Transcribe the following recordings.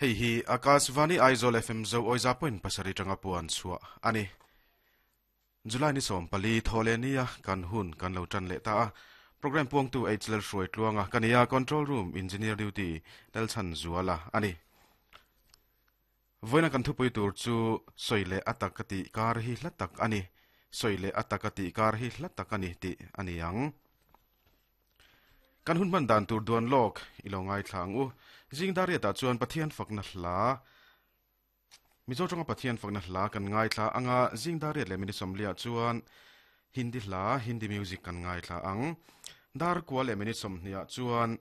Hei hi Akashvani Aizawl FM Zo Awiza point pasarih tanga puan chhuah a ni. July ni 14 thawhleh nia kan hun kan lo tan leh ta a. Program puangtu H Lalhruai Tluanga ka ni a, Control Room Engineer Duty Lalchhan Zuala a ni. Vawiina kan thupui tur chu sawi leh a tak ka tih kar hi hla tak a ni, sawi leh a tak a tih kar hi hla tak a ni tih a ni ang. Kan hun hman dan tur duan lawk i lo ngaithla ang u. Zing Dariatah chuan Pathian fakna hla, Mizo tawnga Pathian fakna hla kan ngaithla ang a, zing Dariat leh minute sawmliah chuan Hindi hla, Hindi music kan ngaithla ang. Dar kua leh minute sawmhniah chuan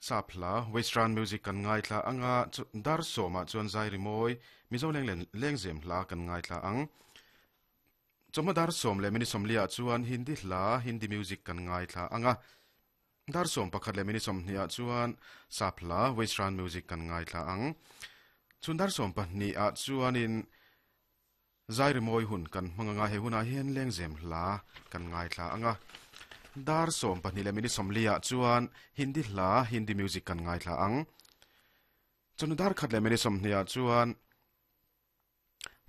Sap hla, Western music kan ngaithla ang a, dar sawmah chuan zai rimawi, Mizo leng lengzem hla kan ngaithla ang. Chawhma dar sawm leh minute sawmliah chuan Hindi hla, Hindi music kan ngaithla ang a. Dar 11 leh minute 20 ah chuan Sap hla, Western music kan ngaithla ang. Chhun dar 12 ah chuanin zai rimawi hun kan hmang ang a, he hunah hian lengzem hla kan ngaithla ang a. Dar 12 leh minute 40 ah chuan Hindi hla, Hindi music kan ngaithla ang. Chawhnu dar khat leh minute 20 ah chuan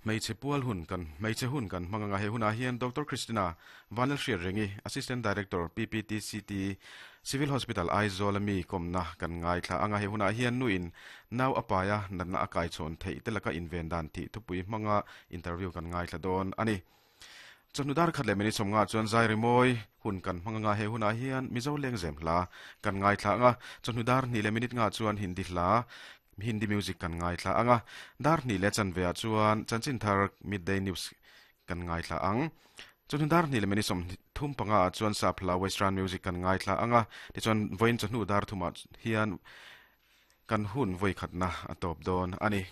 Hmeichhe pual hun kan Hmeichhe hun kan hmang anga he hunah hian Doctor Christina Vanlalhriatrengi, Assistant Director, PPTCT, Civil Hospital, Aizawl a mi kawmna kan ngaithla anga he hunah hian nuin nau a paia natna a kaichhawn theih te laka inven dan tih thupui hmanga interview kan ngaithla dawn a ni. Chawhnu dar khat leh minute sawmnga chuan zai rimawi hun kan hmang anga he hunah hian Mizo lengzem hla kan ngaithla anga chawhnu dar hnih leh minute nga chuan Hindi hla Hindi music kan ngaithla ang a, dar hnih leh chanve ah chuan chanchin thar midday news kan ngaithla ang. Chawhnu dar hnih leh minute 35 ah chuan sap hla western music kan ngaithla ang a, tichuan vawiin chawhnu dar thumah hian kan hun vawikhatna a tawp dawn a ni.